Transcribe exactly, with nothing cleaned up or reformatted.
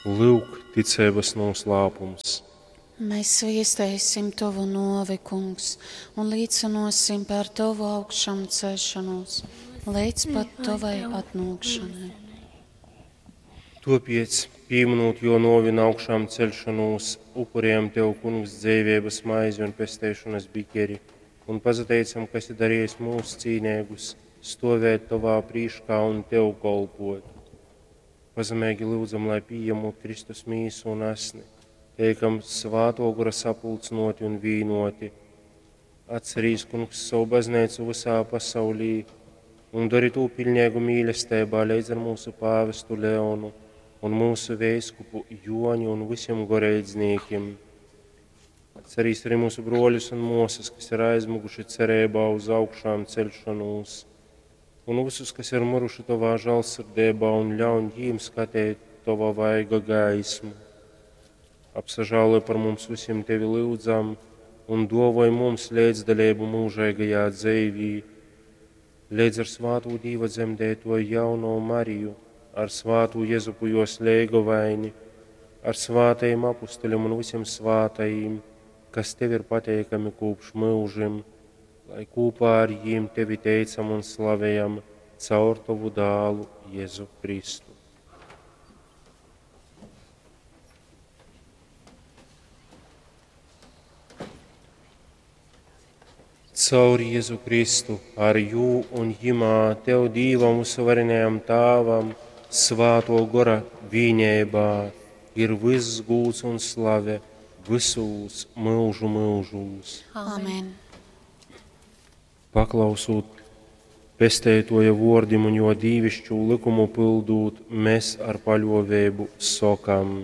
Lyuk, ticeibys nūslāpums. Mēs viestēsim Tovu nuovi, Kungs, un līcynuosim par Tovu augšamceļšonūs leidz pat Tovai atnuokšonai. Tuopiec, pīminūt juo nuovi un augšāmceļšonūs, upurējam Tev, Kungs, dzeiveibys maizi un pesteišonys bikeri, un pasateicam, ka esi dariejs mūs cīneigus stuovēt Tovā prīškā un Tev kolpuot. Pazemeigi lyudzam, lai pījemūt Kristus mīsu un asni, teikam Svātuo Gora sapulcynuoti un vīnuoti. Atcerīs, Kungs, sovu bazneicu vysā pasaulī un dori tū piļneigu mīlesteibā leidz ar mūsu pāvestu Leonu un mūsu veiskupu Juoni un visiem goreidznīkim. Atcerīs arī mūsu bruoļus un muosas, kas ir aizmuguši cereibā uz augšām ceļšanos, un visus, kas ir miruši Tovā žālsirdībā, un ļauj jīm skateit Tova vaiga gaismu. Apsažāloj par mums visiem Tevi lyudzam, un duovoj mums leidzdaleibu mūžeigajā dzeivī, leidz ar svātū Dīva dzemdētoju jauno Mariju, ar svātū Jezupu jos leigovaini, ar svātajim apustuļiem un visiem svātajim, kas Tev ir pateikami kopš mūžim, lai kopā ar jīm Tevi teicam un slavējam caur Tovu dālu Jēzu Kristu. Caur Jēzu Kristu, ar jū un jimā, Tev Dīvam uzvarenajam Tāvam, Svāto Gora vīnībā ir viss gūds un slave visūs mūžu mūžūs. Amen. Paklausūt pesteitoja vuordim un jo dīvišķū likumu pildūt, mēs ar paļovēbu sokam.